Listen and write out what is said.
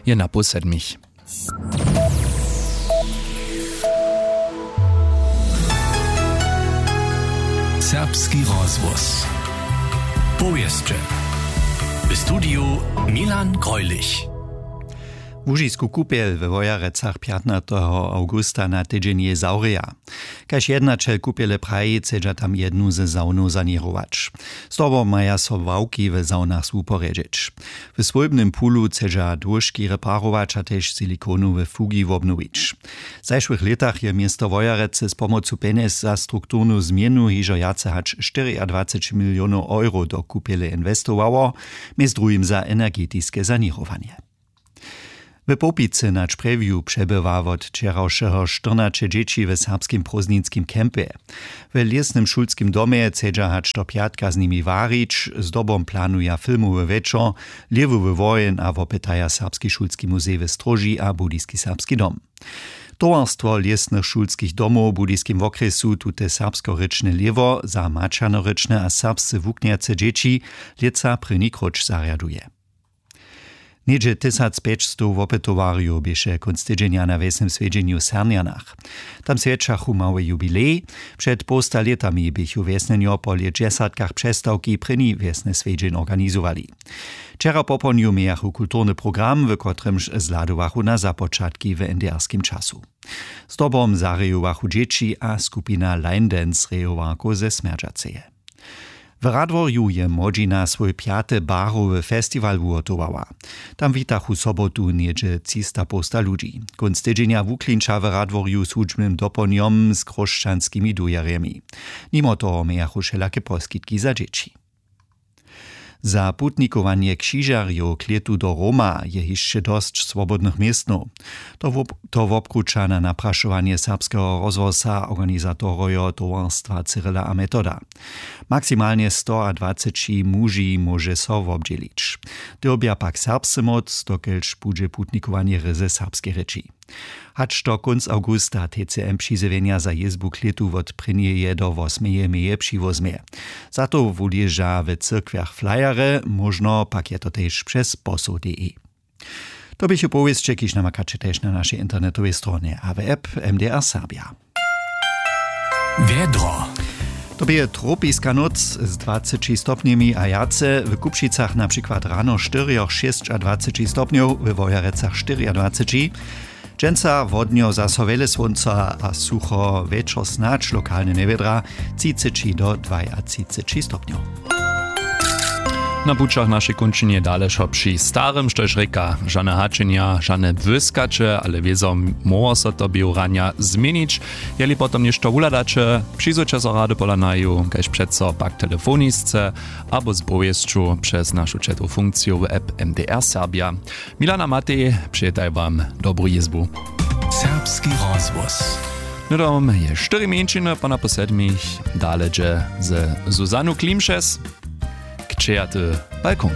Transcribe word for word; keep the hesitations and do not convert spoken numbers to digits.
je na pół sedmich. Serbski rozhłos. Powěsće. W studiju Milan Greulich. Łužisku kupjel we Wojerecach pjatnateho awgusta na tydźeń zawrěja. Kaž jednaćel kupjele praji, chcedźa tam jednu ze sawnow saněrować. Zdobom maja so ławki w sawnach zwuporjedźeć. W swójbnym pulu chcedźa dłóžki reparować a tež silikonowe fugi wobnowić. W zašłych lětach je město Wojerecy z pomocu pjenjez za strukturnu změnu hižo wjace hač štyriadwaceći milionow euro do kupjele inwestowało, mjez druhim za energetiske saněrowanje. W Połpicy na Čprjewju přebywa wot wčerawšeho štyrnaće dźěći w serbskim prózdninskim campje. W lěsnym šulskim domje chcedźa hač do pjatka z nimi warić, zdobom planuja filmowy wječor, lěhwowy woheń a wopytaja Serbski šulski muzej w Stróži a Budyski serbski dom. Towarstwo lěsnych šulskich domow w Budyskim wokrjesu tute serbskorěčne lěhwo za maćernorěčne a serbsce wuknjace dźěći lětsa prěni króć zarjaduje. Něhdźe tysacpjećstow wopytowarjow běše kónc tydźenja na wjesnym swjedźenju w Sernjanach. Tam swjećachu mały jubilej. Před połsta lětami běchu wjesnjenjo po lětdźesatkach přestawki prěni wjesny swjedźeń organizowali. Wčera popołdnju mějachu kulturny program, w kotrymž zhladowachu na započatki w N D R-skim času. Zdobom zarejowachu dźěći a skupina Line Dance rejowarkow ze Smjerdźaceje. W Radworju je młodźina swój pjaty barowy festiwal wuhotowała. Tam witachu sobotu něhdźe třista połsta ludźi. Kónc tydźenja wuklinča w Radworju z hudźbnym dopołdnjom z chróšćanskimi dujerjemi. Nimo toho mějachu wšelake poskitki za dźěći. Za putnikowanje křižerjow k lětu do Roma je hišće dosć swobodnych městnow. To wop-, to wobkruća na naprašowanje Serbskeho rozhłosa organizatorojo towarstwa Cyrila a Metoda. Maksimalnje stoadwaceći muži móže so wobdźělić. Dyrbja pak serbsce móc, dokelž budźe putnikowanje ryzy w serbskej rěči. Hač do kónc awgusta T C M přizjewjenja za jězbu k lětu wot prěnjeje do wosmeje meje přiwozmje. Za to wuleža w cyrkwjach flyerje, móžno pak je to tež přez posoł D E. To běchu powěsće, kiž namakaće tež na našej internetowej stronje a w app M D R Serbja. Wjedro. To bě tropiska nóc z dwaceći stopnjemi a wjace, w Kupšicach na přikład rano štyrjoch šěsćadwaceći stopnjow, we Wojerecach štyriadwaceći. Dźensa wodnjo zaso wjele słónca a sucho, wječor snadź lokalne njewědra, třiceći do dwajatřiceći stopnjow. Na pućach našej kónčinje dale wšo při starym, štož rěka, žane hačenja, žane błyskaće, ale wězo móhło so to běhu ranja změnić. Jeli potom něšto wuhladaće, přizwójće so rady pola naju, kaž přeco pak telefonisce abo z powěsću přez našu četru funkciju w app M D R Serbja. Milan a Matej přejetaj wam dobru jězbu. Serbski rozhłos. Hnydom je štyri mjeńšiny, po napoł sedmich dale dźe ze Zuzanu Klimšes. Kćejaty balkon.